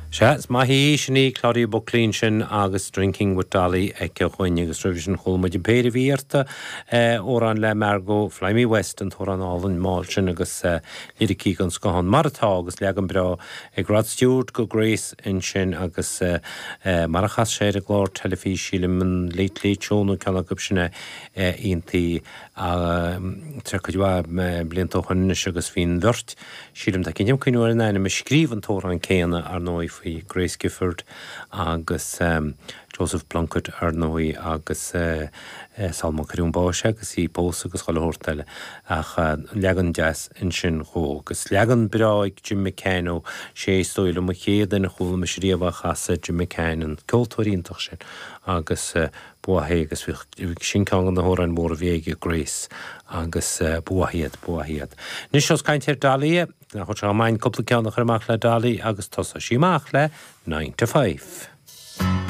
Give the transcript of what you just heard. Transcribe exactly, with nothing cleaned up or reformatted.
Sea, is maith í sin í Claudia Buckley sin agus Drinking with Dolly aici dhúinn agus roimhe sin chuala muid an péire a bhí iarrta amhrán le Margo Fly Me West an t-amhrán álainn mall sin agus liricí den scoth ann mar atá agus leagan breá ag Rod Stewart go Grace ansin agus mar a chas sé ar an gclár teilifíse sílim an Late Late Show nó ceann acu sin iontaí tar cuid mhaith blianta ó shin anois agus bhí an bheirt sílim tá cinnte cuimhneamh ar an ainm a scríobh an t-amhrán céanna ar ndóigh faoi Grace Gifford agus um, Joseph Plunkett ar ndóigh agus uh, uh, Salma Cuiún báis agus í pós agus chuile shórt eile ach uh, leagan deas ansin dhó agus leagan breá ag Jim McCann ó sé is dóigh liom an chéad duine a chuala mise riamh á chasadh Jim McCann an ceoltóir iontach sin agus uh, buathé agus sin ceann na hamhráin mhóra a bhí ag Grace agus uh, buaiad buaiad. Nis os caint ar Dolly nach chu main cúpla ceann a chur amach le Dolly agus tosóidh sí amach le nine to five.